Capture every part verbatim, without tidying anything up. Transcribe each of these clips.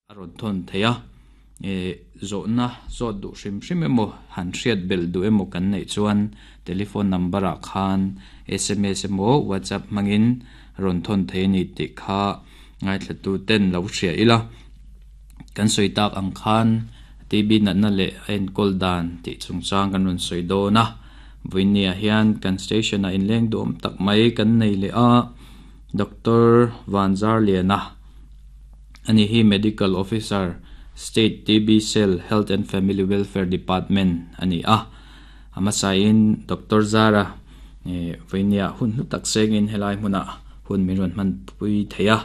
A rawn thawn thei a, zawhna zawt duh hrim hrim emaw han hriat belh duh emaw kan neih chuan telephone number ah khan S M S emaw WhatsApp hmangin rawn thawn thei a ni tih kha ngaithlatu ten lo hria ila. Kan sawi tak ang khan T B natna leh a enkawl dan tih chungchang kan rawn sawi dawn a. Vawinia hian kan station ah inleng duhawm tak mai kan nei leh a, Doctor Vanzarliana ani hi Medical Officer State T B Cell Health and Family Welfare Department ani a. Amasain Doctor Zara vawinia hun hlu tak sengin helai hmuna hun min rawn hman pui thei a,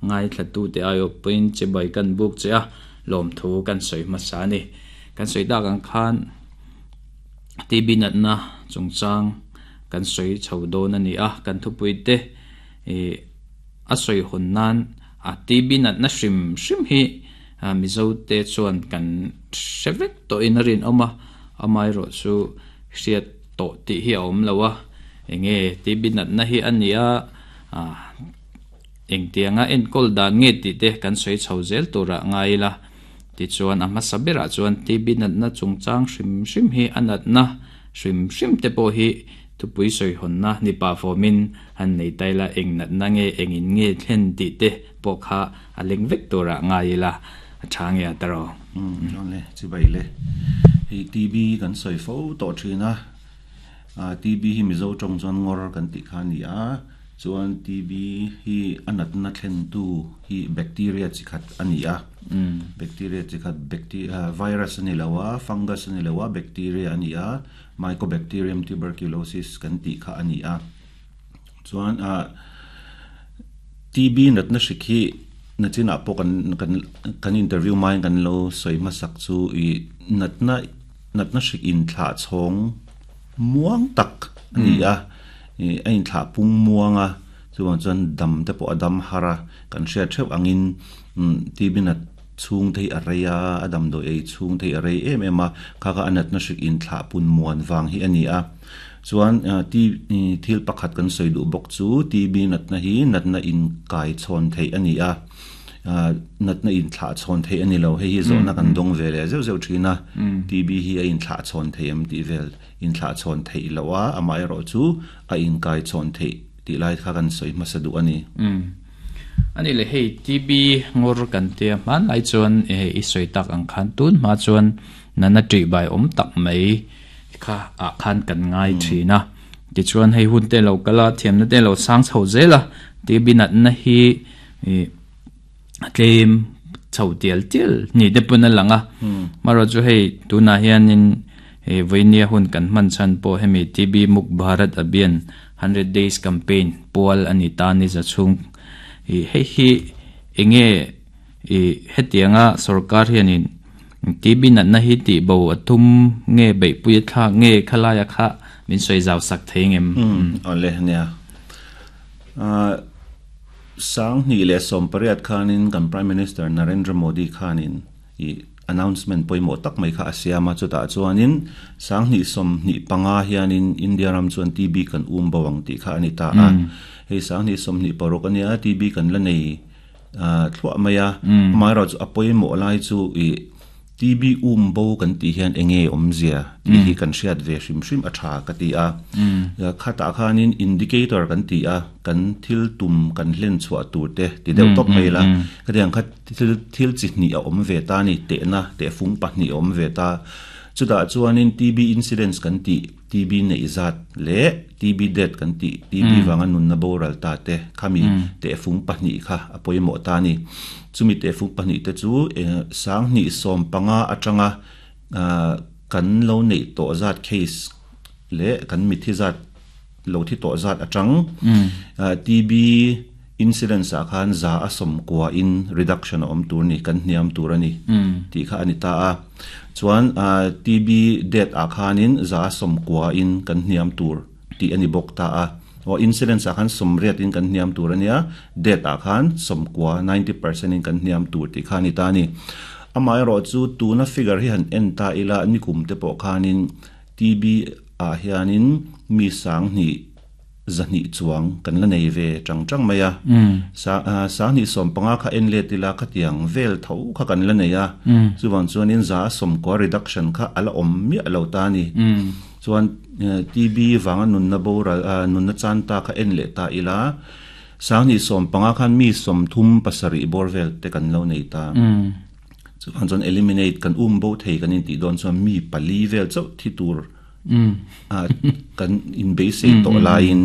ngai thlatu te aio puin chibai kan buk che a, lawm thu kan sawi hmasa ani. Kan sawi tak ang khan T B natna chungchang kan sawi chho dawn ani a, kan thupui te a sawi hawn nan a T B natna hrim hrim hi mizo te chuan kan hre vek tawhin a rin awm a, amai erawh chu hriat tawh tih hi a awm lo a, enge T B natna hi ani a, engtianga enkawl dan nge tih te kan sawi chho zel turah ngai ila. Tichuan a hmasa berah chuan T B natna chungchang hrim hrim hi a natna hrim hrim te pawh hi thupui sawi hawnna ni pa fawmin han nei taila eng natna nge engin nge thlen tih te pawh kha a leng vek turah ngai ila a tha nge a taro. Le chibai le hei T B kan sawi fo tawh thina a T B hi mizo tawng chuan ngawr kan tih kha ani a, chuan T B hi a natna thlen tu hi bacteria chi khat ani a, bacteria chi khat bacteria virus ani lo a, fungus ani lo a, bacteria ani a, mycobacterium tuberculosis kan tih kha ani a. Chuan a T B natna hrik hi nachina pawh kan kan kan interview mai kan lo sawi hmasak chu i natna natna hrik in thla chhawng muang tak ani a, a in thla pung muanga chuan chuan dam te pawh a dam har a, kan hriat theuh angin T B nat chhung te hi a rei a, a dam dawi ei chhung te hi a rei em em a, kha kha a natna hrik in thla pun muan vang hi ani a. Chuan T thil pakhat kan sawi duh bawk chu T B natna hi natna in kai chhawn thei ani a, natna in thla chhawn thei ani lo, hei hi zawhna kan dawng ve leh zeuh zeuh thina T B hi a in thla chhawn thei em tih vel in thla chhawn thei lo a, amah erawh chu a in kai chhawn thei tih lai kha kan sawi hmasa duh ani. Ani le hei T B ngawr kan tia hman lai chuan i sawi tak ang khan tun hma chuan nana ṭih bai awm tak mai kha ah khan kan ngai thina. Tichuan hei hun te lo kala thiamna te lo sang chho zela T B natna hi tlem chho tial tial ni te pun a lang a. Maro chu hei tunah hianin vawinia hun kan hman chhan pawh hemi T B Muk Bharat Abhiyan hundred days campaign pual ani ta ni za chhung hei hi enge hetianga sarkar hianin T B natna hi tih bo a thum nge beihpui a thlak nge khalaia kha min sawi zau sak thei ngem. Awle nia sang hnih leh sawm pariat khanin kan Prime Minister Narendra Modi khanin i announcement pawimawh tak mai kha a siam a, chutah chuanin sang hnih sawm hnih panga hianin India ram chuan T B kan um bo ang tih kha ani ta a. Hei sang hnih sawm hnih paruk ania T B kan la nei thluah mai a, amaherawh chu a pawimawh lai chu i T B um bo kan tih hian enge awm zia tih hi kan hriat ve hrim hrim a tha ka ti a. Khatah khanin indicator kan ti a, kan thil tum kan hlen chhuah tur te ti deuh tawp mai la, khatiang kha thil thil chi hnih a awm ve ta ni, tehna tehfung pahnih a awm ve ta. Chutah chuanin T B incidence kan tih T B neih zat leh T B death kan tih T B wanga nunna boral ta te khami tehfung pahnih kha a pawimawh ta ni. Chumi tehfung pahnih te chu sang hnih sawm panga atanga kan lo neih tawh zat case leh kan mithi zat lo thi tawh zat atang T B incidence ah khan za a sawm kua in reduction a awm tur ni, kan hniam tur ani tih kha ani ta a. Chuan T B death ah khanin za a sawm kua in kan hniam tur tih ani bawk ta a. O incidence ah khan sawm riat in kan hniam tur ania, death ah khan sawm kua ninety percent in kan hniam tur tih kha ani ta ani. Amaherawh chu tuna figure hi han en ta ila nikum te pawh khanin T B ah hianin mi sang hnih zahni chuang kan la nei ve tang tang maya sa sang ni som panga kha en le tila khatiang vel tho kha kan la nei a chuwang chuan in za som ko reduction kha ala om mi alo ta ni chuan T B wanga nun na bo ra nun na chan ta kha en le ta ila sang ni som panga khan mi som thum pasari bor vel te kan lo nei ta chuan chuan eliminate kan um bo thei kan in ti don chuan mi pali vel chau thi tur a kan in base to line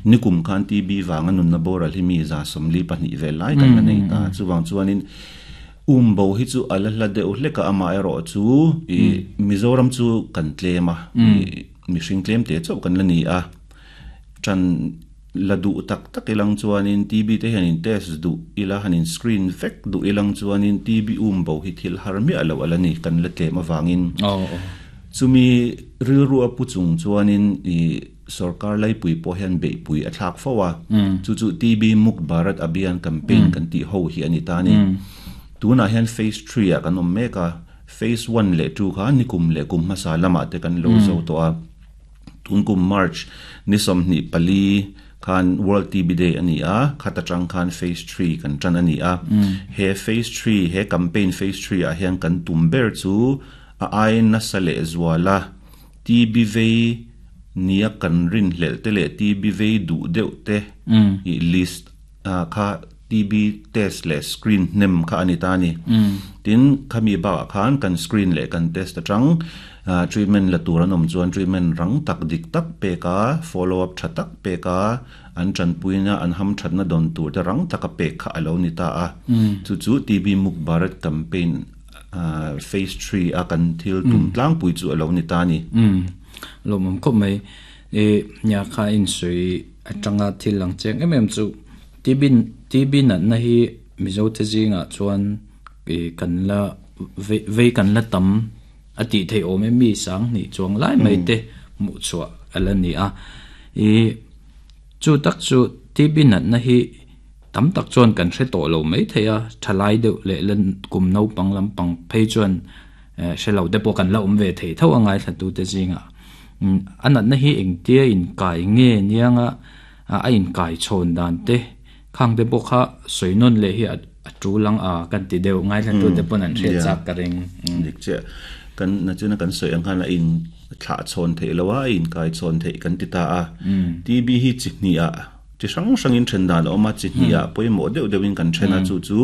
nikum khan T B wanga nun na boral hi mi za somli pahni vel lai kan nei ta chuwang chuanin um bo hi chu ala hla de hleka ama ero chu i Mizoram chu kan tlema mi hring tlem te chau kan la ni a chan ladu tak tak ilang chuanin T B te hian in test du ila hanin screen vek du ilang chuanin T B um bo hi thil har mi alo alani kan la tlem awangin oh chumi rilru a puchung chuanin i sarkar lai pui po hian be pui a thlak fowa chu chu T B Muk Bharat Abhiyan campaign kan ti ho hi ani ta ni tuna hian phase three a kan om meka phase one le two kha nikum le kum hmasa lama te kan lo zo to a tunkum March ni somni pali khan World T B Day ani a khata tang khan phase three kan tran ani a he phase three he campaign phase three a hian kan tumber chu a ai na sale zwala T B V nia kan rin hlel te le T B V du deuh te i list kha T B test le screen nem kha ani ta ni tin khami ba khan kan screen le kan test atang treatment la turan om chuan treatment rang tak dik tak pe ka follow up tha tak pe ka an chan puina an ham thatna don tur te rang taka pe kha alo ni ta a chu chu T B Muk Bharat campaign Uh, phase three a kan thil tum tlang pui chu alo ni ta ni lomom khop mai e nya kha in sui atanga thil lang cheng em em chu T B T B na na hi mizo te zinga chuan e kan la ve kan la tam ati thei om mi sang ni chuang lai mai te mu chua ala ni a e chu tak chu T B na na hi tam tak chuan kan hre to lo mai theia thalai deuh le len kum no pang lam pang phei chuan hrelo te pawh kan la awm ve thei tho angai thlatu te zinga anat na hi engtia in kai nge nianga a in kai chhawn dan te khang te pawh kha soinon le hi a tu lang a kan ti deuh ngai thlatu te pawn an hre chak ka ring dik che kan na chuna kan soi ang khan a in thla chhawn thei lo a in kai chhawn thei kan ti ta a T B hi chihni a chi sang sang in then dan oma chi hnia poimo deuh deuh in kan thena chu chu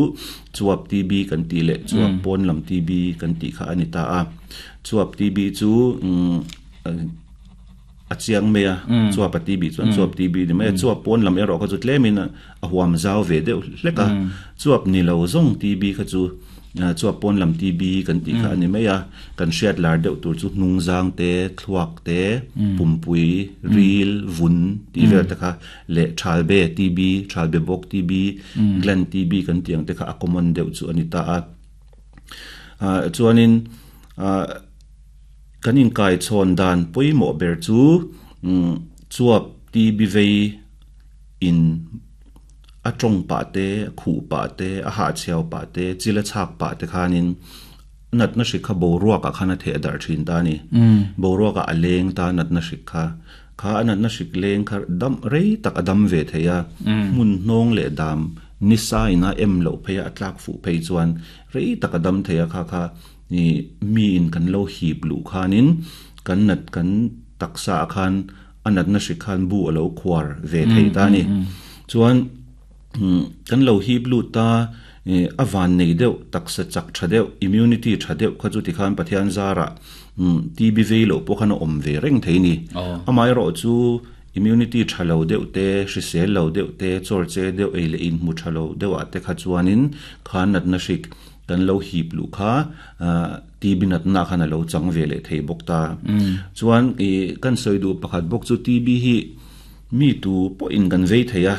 chuap T B kan ti le chuap pon lam T B kan ti kha ani ta a chuap T B chu a chiang me a chuap T B chuan chuap T B ni me chuap pon lam ero kha chu tlemin a huam zau ve deuh hleka chuap ni lo zong T B kha chu chuap pon lam T B kan ti kha ani mai a kan hriat lar deuh tur chu hnung zang te thluak te pumpui ril vun ti vel te kha le thalbe T B thalbe bok T B gland T B kan tiang te kha a common deuh chu ani ta a chuanin kan in kai chhawn dan poimo ber chu chuap T B vei in a tong pa te khu pa te a ha chhiao pa te chila chhak pa te khanin nat na shikha bo ruak a khana the dar thin ta ni bo ruak a aleng ta nat na shikha kha anat na shik leng kha dam rei tak adam ve theya mun nong le dam nisa ina em lo pheya atlak fu phei chuan rei tak adam theya kha kha ni mi in kan lo hip lu khanin kan nat kan taksa khan anat na shikhan bu alo khwar ve thei ta ni chuan kan lo hi blu ta awan nei deuh taksa chak tha deuh immunity tha deuh kha chu ti khan Pathian zara T B ve lo pawh khan a awm ve reng thei ni amai ro chu immunity tha lo deuh te hrisel lo deuh te chawr che deuh ei le in hmu tha lo deuh ah te kha chuanin khan nat na hrik kan lo hip lu kha T B nat na khan a lo chang ve le thei bawk ta chuan i kan sawi duh pakhat bawk chu T B hi mi tu pawh in kan vei thei a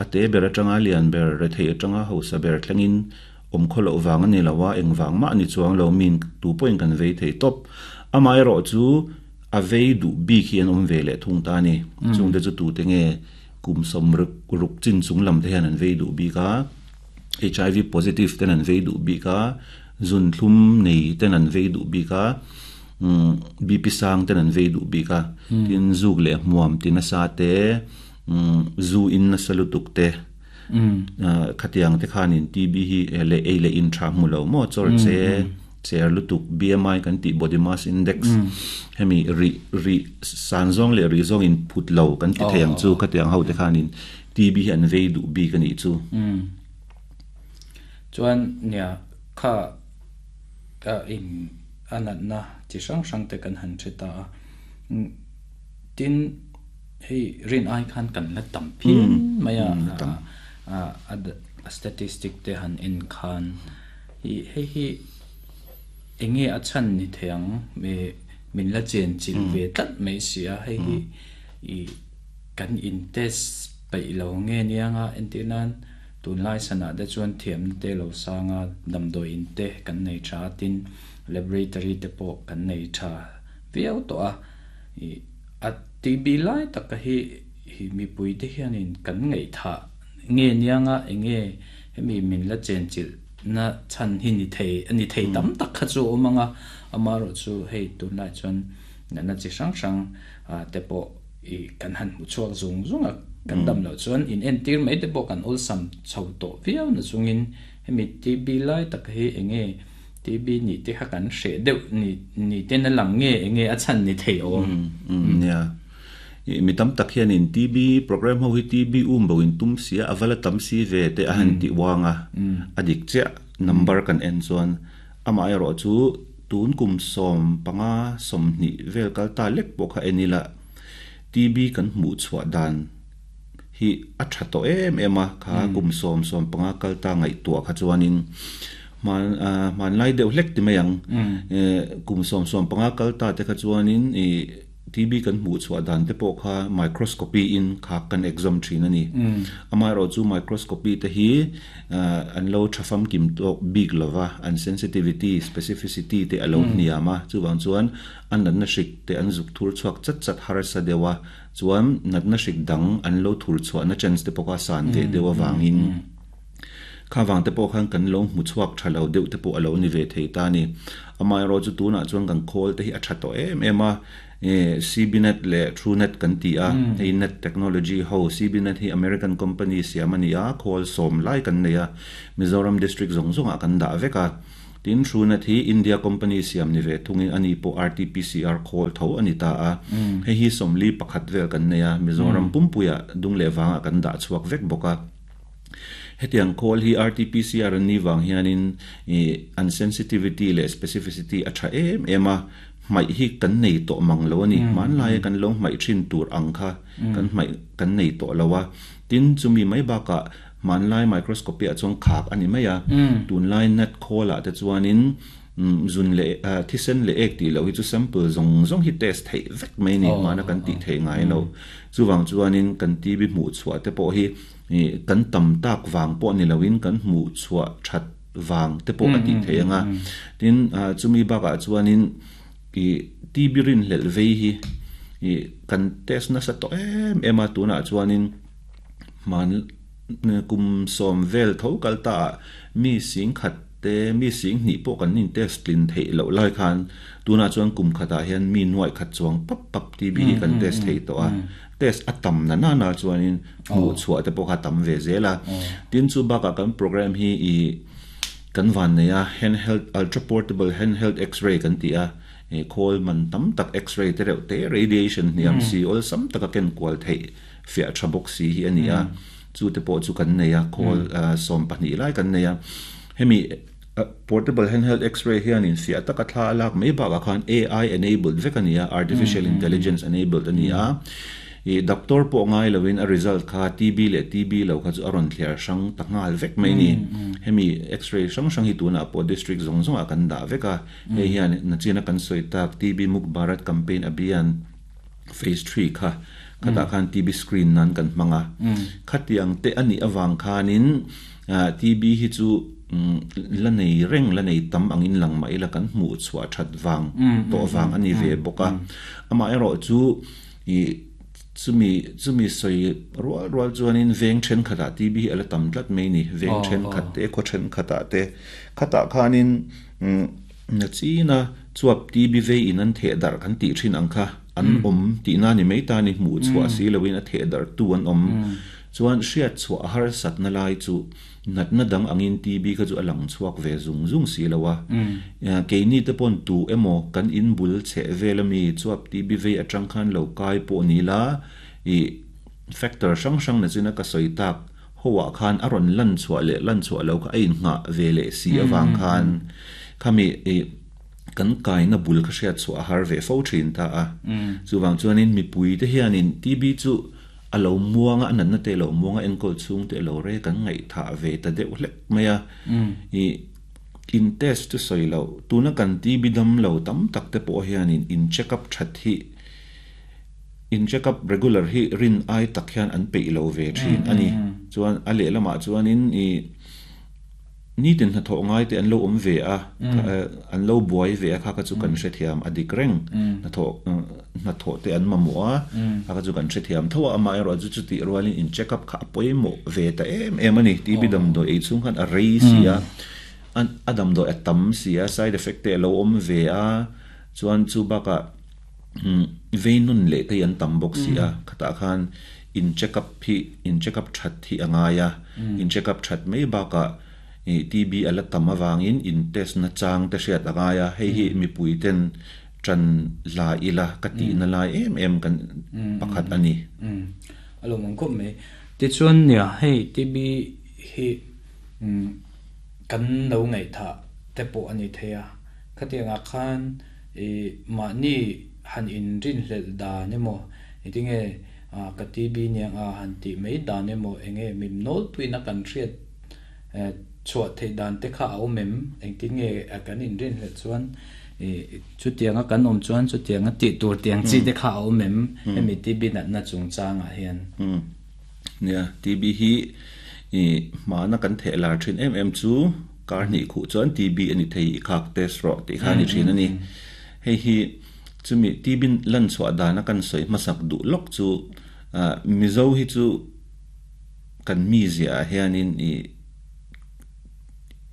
ate ber atanga lian ber re thei atanga hosa ber thlengin om kholo wang ani lawa engwang ma ani chuang lo min tu point kan vei thei top amai ro chu a vei du bi khian om ve le thung ta ni chung te chu tu te nge kum som ruk ruk chin chung lam te hian an vei du bi ka H I V positive ten an vei du bi ka zun thlum nei ten an vei du bi ka B P sang ten an vei du bi ka tin zuk le muam tin sa te zu in na salutuk te khatiang te khanin T B hi le a le in tha mu lo mo chor che chair lutuk B M I kan ti body mass index hemi ri ri sanzong le ri zong in phut lo kan ti theyang chu khatiang ho te khanin T B hi an vei du bi kan i chu chuan nia kha ka in anat na chi sang sang te kan han cheta tin hei rin ai khan kan la tam phin maya a a statistic te han en khan hi hei hi enge a chan ni theang me min la chen chil ve tlat mai sia hei hi i kan in test pai lo nge nianga entinan tun lai sana de chuan thiam te lo sanga damdoi in te kan nei tha tin laboratory te po kan nei tha viau to a i a T B lai tak hi hi mi pui te hianin kan ngei tha nge nianga enge hemi min la chen chil na chan hi ni thei ani thei tam tak kha chu omanga amaro chu hei tun lai chuan na na chi sang sang a te po i kan han mu chuak zung zung a kan dam lo chuan in en tir mai te po kan ol sam chho to viau na chungin hemi T B lai tak hi enge T B ni te kha kan hre deuh ni ni te na lang nge enge a chan ni thei om nia mi tam tak hian in T B program ho hi T B um bo in tum sia avala tam si ve te a han ti wanga adik che number kan en chuan ama ai ro chu tun kum som panga som ni vel kal ta lek po kha enila T B kan mu chwa dan hi a tha to em ema kha kum som som panga kal ta ngai tua kha chuanin man man lai deuh hlek ti mayang kum som som panga kal ta te kha chuanin i T B kan mu chwa dan te po kha microscopy in kha kan exam thin ani ama ro chu microscopy te hi an lo thafam kim to big lova an sensitivity specificity te alo niama chuwang chuan an na shik te an zuk thur chuak chat chat har sa dewa chuan nat na shik dang an lo thur chwa na chance te poka san te dewa wangin kha wang te po khan kan lo mu chuak thalo deuh te po alo ni ve thei ta ni amai ro chu tuna chuan kan khol te hi a tha to em ema C B net le TrueNet kan ti a hei net technology ho C B net hi American company siamani a khol som lai kan neya Mizoram district zong zong a kan da veka tin TrueNet hi India company siam ni ve thungin ani po R T P C R khol tho ani ta a hei hi somli pakhat vel kan neya Mizoram pumpuya dung le wanga kan da chuak vek boka hetiang call hi R T P C R ni wang hianin an sensitivity le specificity a tha em ema mai hi kan nei to mang lo ani man lai kan lo mai thin tur ang kha kan mai kan nei to lawa tin chumi mai ba ka man lai microscopy a chong khak ani maya tun lai net call a te chuanin zun le thisen le ek ti lo hi chu sample zong zong hi test thei vek mai ni mana kan ti thei ngai lo chuwang chuanin kan ti bi mu chua te po hi kan tam tak wang po ni lowin kan mu chua that wang te po ati thei anga tin chumi ba ka chuanin i T B rin lel vei hi i kan test na sa to em ema tuna chuanin man kum som vel tho kalta mi sing khat te mi sing ni po kan nin test tlin thei lo lai khan tuna chuan kum khata hian mi nuai khat chuang pap pap T B hi kan test thei to a test atam na na na chuanin mu chua te po kha tam ve zela tin chu ba ka kan program hi i kan van neya handheld ultra portable handheld x-ray kan ti a e khol man tam tak x-ray te reuh te radiation niam si ol sam taka ken kwal thei fia thabok si hi ani a chu te po chu kan neya khol som pahnih lai kan neya hemi portable handheld x-ray hian in fia taka thla alak mai ba khan A I enabled vek ania artificial intelligence enabled ania e doctor po ngai lowin a result kha T B le T B lo kha chu aron clear sang tangal vek mai ni hemi x-ray sang sang hi tuna po district zong zong a kan da veka he hian na china kan soi tak T B Muk Bharat campaign abhiyan phase three kha khata khan T B screen nan kan manga khatiang te ani awang khanin T B hi chu la nei reng la nei tam angin lang mai la kan mu chwa that wang to wang ani ve boka ama ero chu i chumi chumi soi rual rual chuanin veng then khata T B ala tam tlat mai ni veng then khat te kho then khata te khata khanin na china Chuap T B vei in an the dar kan ti thin ang kha an om ti na ni mai ta ni mu chua si loin a the dar tu an om chuan hriat chua har sat na lai chu nat na dang angin T B kha chu alang chuak ve zung zung si lowa ke ni te pon tu emo kan in bul che velami chuap T B vei atang khan lo kai po ni la i factor sang sang na china ka soi tak hoa khan aron lan chua le lan chua lo kha ein nga ve le si awang khan khami e kan kai na bul kha hriat chua har ve fo thin ta a chuwang chuanin mi pui te hianin T B chu alo muanga anan na te lo muanga enkol chung te lo re kan ngai tha ve ta deuh hlek maya i in test tu soilo tuna kan T B dam lo tam tak te po hianin in check up that hi in check up regular hi rin ai tak hian an pe lo ve thin ani chuan a le lama chuanin i ni tin na tho ngai te an lo om ve a an lo buai ve a kha ka chu kan hre thiam adik reng na tho na tho te an mamua a ka chu kan hre thiam tho ama ero chu chu ti rualin in check up kha poi mo ve ta em em ani T B dam do ei chung khan a rei sia an adam do atam sia side effect te lo om ve a chuan chu baka veinun le te an tam bok sia khata khan in check up hi in check up that hi angaya in check up that mai baka T B ala tama wangin in test na chang te hriat angaya hei hi mi puiten tran la ila kati na lai em em kan pakhat ani alo mong ko me ti chuan nia hei T B hi kan lo ngai tha te po ani theya khatianga khan e ma ni han in rin hlel da ne mo itinge ka T B niang a han ti mai da ne mo enge mim nol tuina kan hriat chua thei dan te kha au mem eng ti nge kan in rin hlel chuan e chu tianga kan om chuan chu tianga ti tur tiang chi te kha au mem hemi T B na na chung changa hian nia T B hi e ma na kan the lar thin em em chu kar ni khu chuan T B ani thei khak test ro ti kha ni thin ani hei hi chumi T B lan chua dana kan soi masak du lok chu mizo hi chu kan mi zia hianin i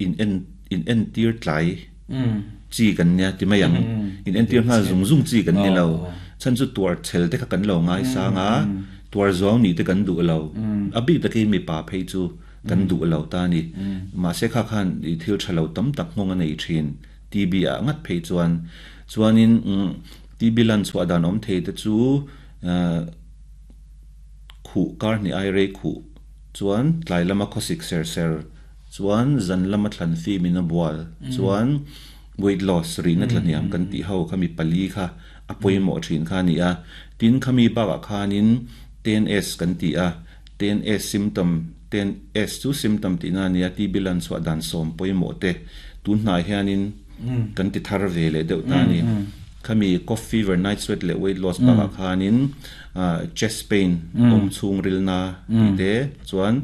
in en in en tir tlai chi kan nia ti mai ang in en tir nga zung zung chi kan ni lo chan chu tuar chel te kha kan lo ngai sanga tuar zawng ni te kan du lo abi ta ke mi pa phei chu kan du lo ta ni ma se kha khan i thil thalo tam tak ngong anei thin T B a ngat phei chuan chuanin T B lan chua dan om thei te chu khu kar ni ai re khu chuan tlai lama khosik ser ser chuan zan lama thlan fi min a bual chuan weight loss ri na thlaniam kan ti ho khami pali kha apoimo thin kha ni a tin khami ba ka khanin ten S kan ti a ten S symptom ten S chu symptom ti na nia T B lan chua dan som poimo te tun hnai hianin kan ti thar ve le deuh ta ni khami cough fever night sweat le weight loss ba ka khanin chest pain om chung ril na ti te chuan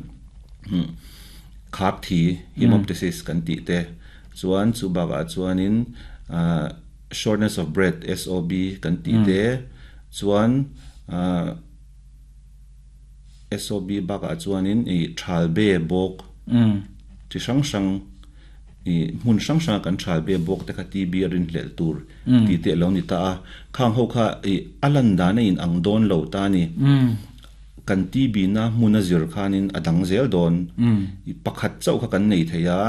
khap thi hemoptysis kan ti te chuan chu ba ka chuanin shortness of breath S O B kan ti te chuan S O B ba ka chuanin i thal be bok ti sang sang i mun sang sang kan thal be bok te kha T B rin hlel tur ti te lo ni ta a khang ho kha i alan da na in ang don lo ta ni kan T B na muna zir khanin adang zel don i pakhat chau kha kan nei theya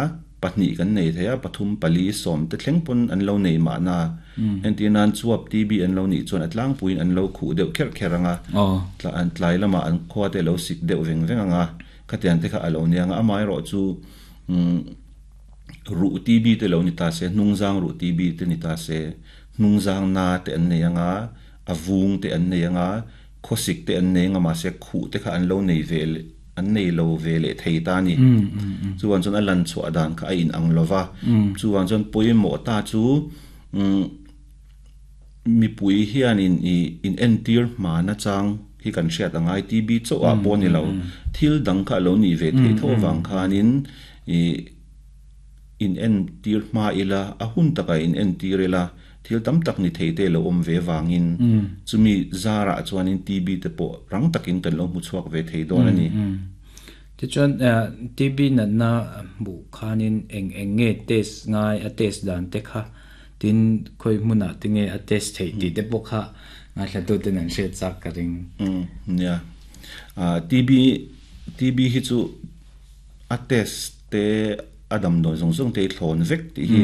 pahni kan nei theya pathum pali som te thleng pon an lo nei ma na entinan chuap T B an lo ni chuan atlang puin an lo khu deuh kher kheranga tla an tlai lama an khwa te lo sik deuh veng veng anga khatian te kha alo nianga amai ro chu ru T B te lo ni ta se nungzang ru T B te ni ta se nungzang na te an nei anga avung te an nei anga khosik te an nei nga ma se khu te kha an lo nei vel an nei lo ve le thei ta ni chuan chuan a lan chua dan kha a in ang lova chuan chuan poimo ta chu mi pui hian in in entir ma na chang hi kan hriat angai T B chaw a pawh ni lo thil dang kha lo ni ve thei tho wang khanin i in en tir ma ila a hun taka in en tir ila thil tam tak ni thei te lo om ve wangin chumi zara chuanin T B te pawh rang takin kan lo mu chuak ve thei dawn ani ti chuan T B na na bu khanin eng eng nge test ngai a test dan te kha ti Tin khoi hmuna tinge a test thei ti te pawh kha ngaithla tu ten an hriat chak ka ring. Mm nia a T B T B hi chu a test te adam doi zong zong te thlon vek ti hi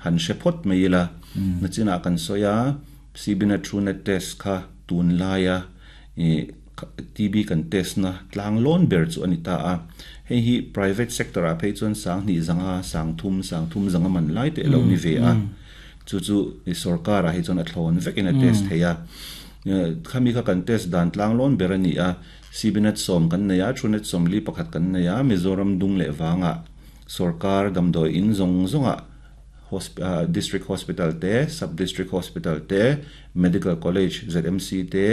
han hre phot mai la. Na china kan soya C B NAT Truenat test kha tun laia e T B kan test na tlang lon ber chu ani ta a. Hei hi private sector a phei chuan sang ni zanga sang thum sang thum zanga man lai te lo ni ve a. Chu chu i sarkar a hi chuan a thlon vek in a test theia. Khami kha kan test dan tlang lon ber ani a. C B NAT som kan neya, Truenat som li pakhat kan neya. Mizoram dung le wanga sarkar damdoi in zong zonga district hospital te, sub district hospital te, medical college, Z M C te,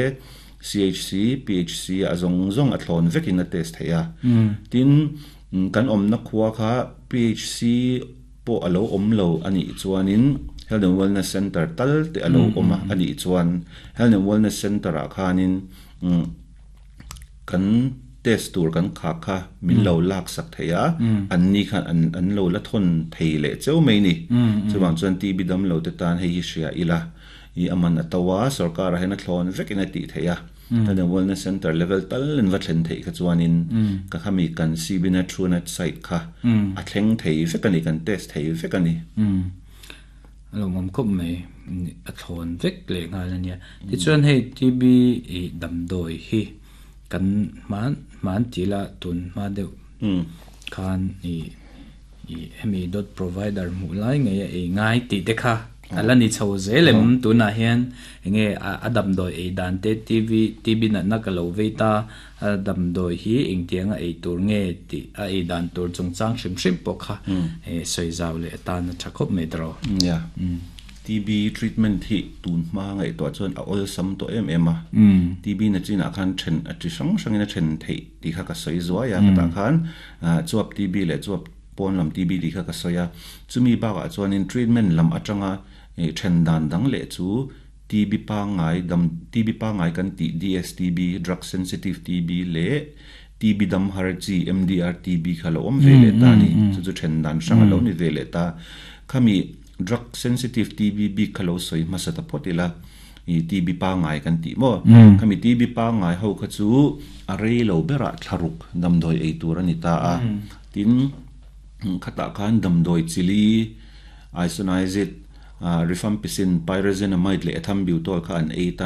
C H C, P H C a zong zong a thlon vek in a test theia. Tin kan om na khuwa kha P H C po alo om lo ani chuanin Health and Wellness Center tal te alo oma ani chuan Health and Wellness Center a khanin kan test tur kan kha kha min lo lak sak theia. An ni khan an an lo la thon thei le cheu mai ni. Chuwang chuan T B dam lo te tan hei hi hria ila. I aman atawa sarkar a hena thlon vek in a ti theia. Health and Wellness Center level tal in va thlen thei kha chuanin ka khami kan C B NAT Truenat site kha a thleng thei vek ani, kan test thei vek ani. Alo mom khop mai a thlon vek le nga la nia. Ti chuan hei T B i damdoi hi kan man man tila tun ma deuh khan i i hemi dot provider mu lai nge e ngai ti te kha ala ni chho zelem. Tuna hian enge adam doi e dan te T V T B na na ka lo ve ta adam doi hi eng tianga e tur nge ti a e dan tur chung chang hrim hrim pawh kha e soi zau le ta na thakhop me dro. Ya, T B treatment hi tun ma ngai to chuan a ol sam to em em a. T B na china khan then a chi sang sang ina then thei ti kha ka soi zuwa ya. Ka ta khan chuap T B le chuap pon lam T B ti kha ka soya. Chumi ba ka chuan in treatment lam atanga then dan dang le chu T B pa ngai dam T B pa ngai kan ti D S T B, drug sensitive T B le T B dam har chi M D R T B kha lo om ve le ta ni. Chu chu then dan sang lo ni ve le ta. Khami drug sensitive T B bi khalo soi ma sa ta photila. I T B pa ngai kan ti mo, khami T B pa ngai ho kha chu a rei lo bera thlaruk dam doi ei tur ani ta a. Tin khata khan dam doi chili isoniazid, rifampicin, pyrazinamide le ethambutol kha an ei ta.